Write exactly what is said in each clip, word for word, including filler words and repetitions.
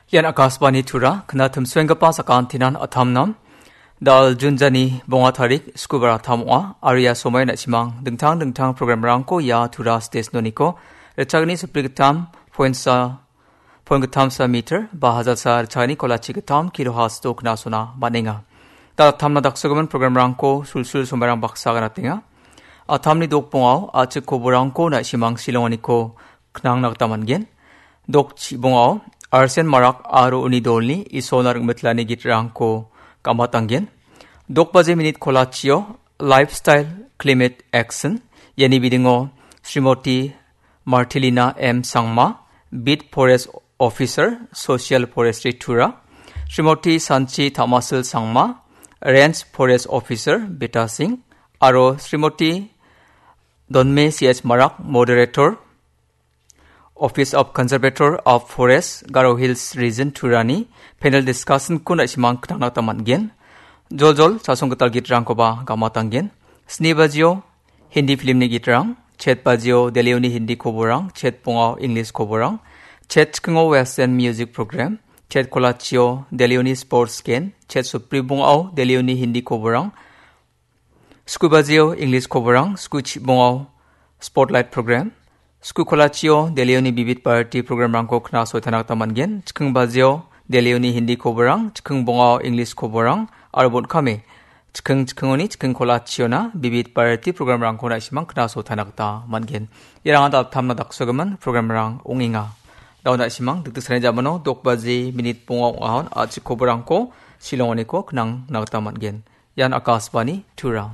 Ian Akashvani Tura, kna timsuenggipa sakantinan atamnam. Dal Junjani bonga tarik, Skubar atam ong·a, aro ia somoian na·simang dingtang dingtang programrangko ia Tura station-oniko ritchagni sipri gittam pointsa, point gittamsa meter, ba hajalsa ritchagni kolachi gittam kilohertz-o knasona man·enga. Dal atamna daksogimin programrangko sulsul somoirang baksa ganatenga. Atamni dokbongao a·chik koborangko na·simang silonganiko knangna gita man·gen. Dok chibongao Arsen Marak aro uni dolni Isolna ringmitlani gitrangko gamatanggen. Dok baje minit kolachio Lifestyle Climate Action, iani bidingo Srimoti Martilina M Sangma, Beat Forest Officer, Social Forestry Tura, Srimoti Sanchi Tamasil Sangma, Range Forest Officer, Beta Singh, aro Srimoti Donme C H Marak, Moderator, Office of Conservator of Forest, Garo Hills Region Turani panel discussion-ko na·simang knangna gita man·gen. Joljol chasong gital gitrangkoba gamatanggen. Sni bajio Hindi filmni gitrang, chet bajio Delhioni Hindi koborang, chet bongao English koborang, chet chikingo Western music program, chet kolachio Delhioni sports gen, chet supri bongao Delhioni Hindi koborang, sku bajio English koborang, sku chibongao Spotlight program, sku kolachio Delhioni bibit variety programrangko knasoitana gita man·gen. Chiking bajio Delhioni Hindi koborang, chiking bongao English koborang, aro bon·kame chiking chikingoni chiking kolachiona bibit variety programrangko na·simang knasoitana gita man·gen. Iarang dal tamna daksogimin programrang ong·enga. Dao na·simang dikdiksanni jamano dok baji minit bonga ong·ahon a·chik koborangko silongoniko knangna gita man·gen. Ian Akashvani Tura.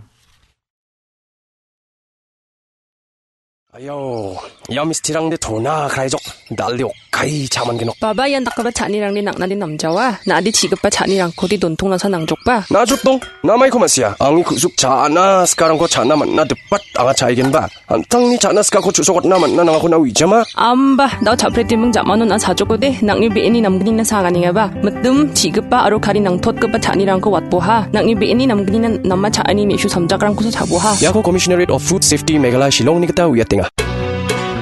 Ayo, ia mistirangde tona kraijok, dalde okkai chaman genok. Baba, ian dakgipa cha·anirangde nang·nade namjawa. Na·ade chi·gipa cha·nirangkode dontongnasa nangjokba. Na·jotdong, namaiko ma·sia. Angni ku·suk cha·ana sikarangko cha·na man·na dipat anga cha·aigenba. An·tangni cha·na sikako chu·sokatna man·na nangako na uijama. Amba, dao cha·pretiming ja·mano na·a chajokode, nang·ni be·eni namgnina saganengaba. Mitim, chi·gipa aro kari nangtotgipa cha·nirangko watboha. Nang·ni be·eni namgnina nama cha·ani me·su samjakrangkosa chaboha. Iako Commissionerate of Food Safety Meghalaya Shillongni gita uiatenga.